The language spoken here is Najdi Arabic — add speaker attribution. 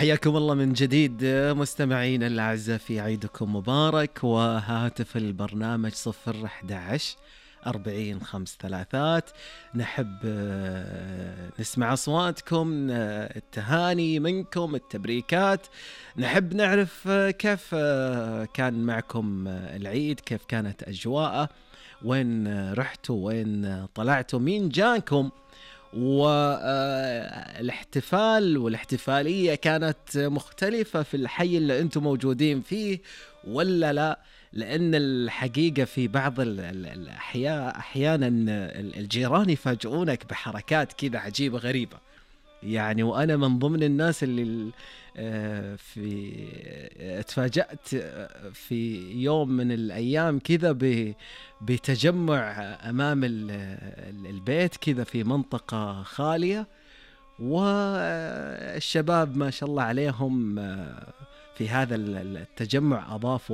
Speaker 1: حياكم الله من جديد مستمعين الأعزاء في عيدكم مبارك، وهاتف البرنامج 011 40 5 3. نحب نسمع أصواتكم، التهاني منكم، التبريكات. نحب نعرف كيف كان معكم العيد، كيف كانت أجواءه، وين رحتوا، وين طلعتوا، مين جانكم، والاحتفال والاحتفالية كانت مختلفة في الحي اللي أنتم موجودين فيه ولا لا؟ لأن الحقيقة في بعض الأحياء أحيانا الجيران يفاجئونك بحركات كذا عجيبة غريبة يعني. وأنا من ضمن الناس اللي في اتفاجأت في يوم من الأيام كذا بتجمع أمام البيت كذا في منطقة خالية، والشباب ما شاء الله عليهم في هذا التجمع أضافوا